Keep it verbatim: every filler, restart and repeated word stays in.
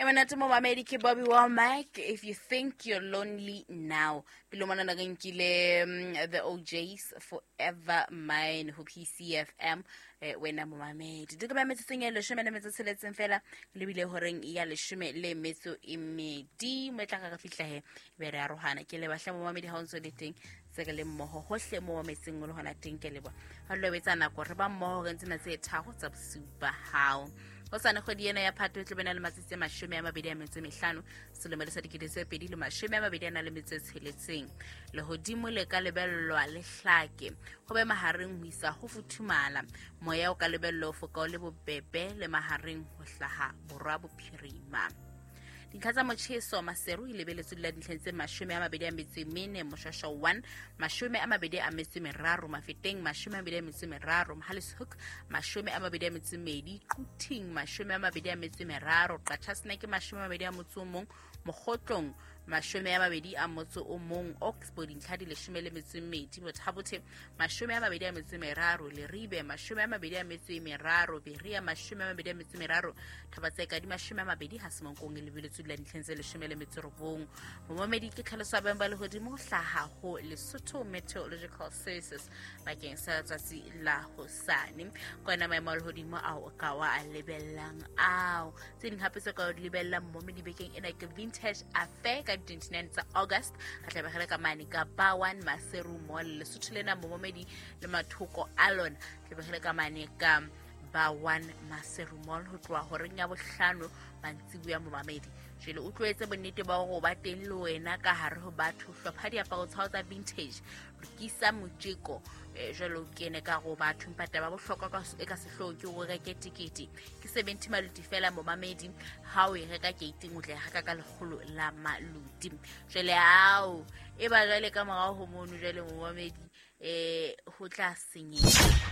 E monate momamedi ke Bobby Womack, "If You Think You're Lonely Now". Pele mona na re nkile mm, the O Js, "Forever Mine", ho P C F M. eh, wena momamedi, di ka ba metsotsong e leshome le metso tsheletseng fela lebile horeng ya leshome le metso e medi mo e tla ka re fihla he be re arohana. Ke lebahle momamedi ha o ntso le teng tse re le mmoho hohle mo mametseng o le hona teng. Ke leboha ha lo etsa nako re ba mmoho re ntsena tse tharo tsa bosiu ba hao. Hosane kgwedi ena ya Phato e tlo bena le matsatsi a mashome a mabedi a metso e mehlano selemo le sa dikete tse pedi le mashome a mabedi a na le metso e tsheletseng. Lehodimo le ka lebellwa le hlake, ho be mahareng ho isa ho futhumala. Moya o ka lebellwa o foka o le bobebe le mahareng ho hlaha borwa bophirima. Dintlha tsa motjheso: Maseru e lebeletswe dula dintlheng tse mashome a mabedi a metso e mene, Moshwashwa one mashome a mabedi a metso e meraro, Mafeteng mashome a mabedi a metso e meraro, Mohale's Hoek mashome a mabedi a metso e medi, Quthing mashome a mabedi a metso e meraro, Qacha's Nek mashome a mabedi a motso o mong, Mokgotlong mashome a mabedi a motso o mong, Oxbow dintlha di leshome le metso e mmedi, Botha-Bothe mashome a mabedi a metso e meraro, Leribe mashome a mabedi a metso e meraro, Berea mashome a mabedi a metso e meraro, Thaba-Tseka di mashome a mabedi, ha Semonkong e lebeletswe dula dintlheng tse leshome le metso e robong. Momamedi, ke tlhaloso ya beng ba lehodimo ho hlaha ho Lesotho Meteorological Services bakeng sa letsatsi la hosane. Ke ona maemo a lehodimo ao o ka wa a lebellang ao. Tse ding hape tse ka o di lebellang momedi bekeng ena ke Vintage Affair ka di twenty-nine tsa August. Re tla be re le ka mane ka Bar One Maseru Mall. Lesotho lena momamedi le mathoko a lona, tla be re le ka mane ka Bar One Maseru Mall ho tloha horeng ya bohlano mantsibuya. Momamedi, jwale o tloetse bonnete ba hore o ba teng le wena ka hare ho batho. Hlopha diaparo tsa hao tsa vintage, lokisa motjeko, eh, jwale o kene ka hare ho batho. Empa taba ya bohlokwa ka- e ka sehloohong ke o reke tekete. Ke seventy maluti fela momamedi. Ha o e reka gating, o tla e reka ka lekgolo la maluti. Jwale ao e ba jwale ka morao ho mono, jwale momamedi, eh ho tla senyeha.